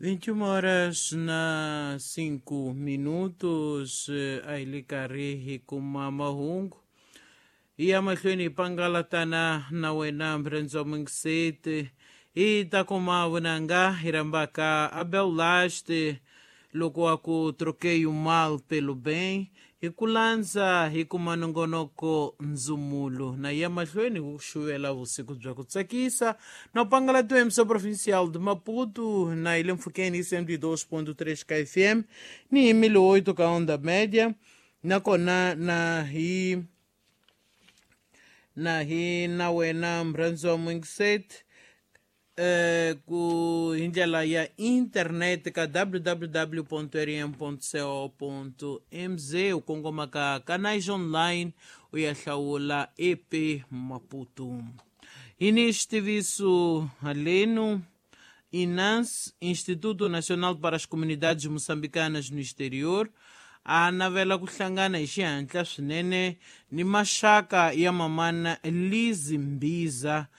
21 horas na 5 minutos, a hi le karhi hi kuma mahungu hi ya mahlweni hi pangalatana na wena mrendzo mungiseti hi ta kuma vunanga hi rhambaka Abel Laste loko wa ku troquei o mal pelo bem hi ku landza hi kuma nongonoko ndzumulo na ya mahlweni ku xuvela vusiku bya ku tsakisa na pangalatiwa emissão provincial de Maputo na hi le mpfhukeni hi 102.3 ka FM ni hi 1008 ka onda média nakona na hi na hi na wena mrhandziwa mwingiseti ku hi ndlela ya internet ka www.rm.co.mz u kongoma ka canais online u ya hlawula EP Maputo. Hi ni xitiviso haleno INANS, Instituto Nacional para as Comunidades Moçambicanas no Exterior, a navela ku hlangana hi xihatla swinene ni maxaka ya mamana Lizi Mbiza.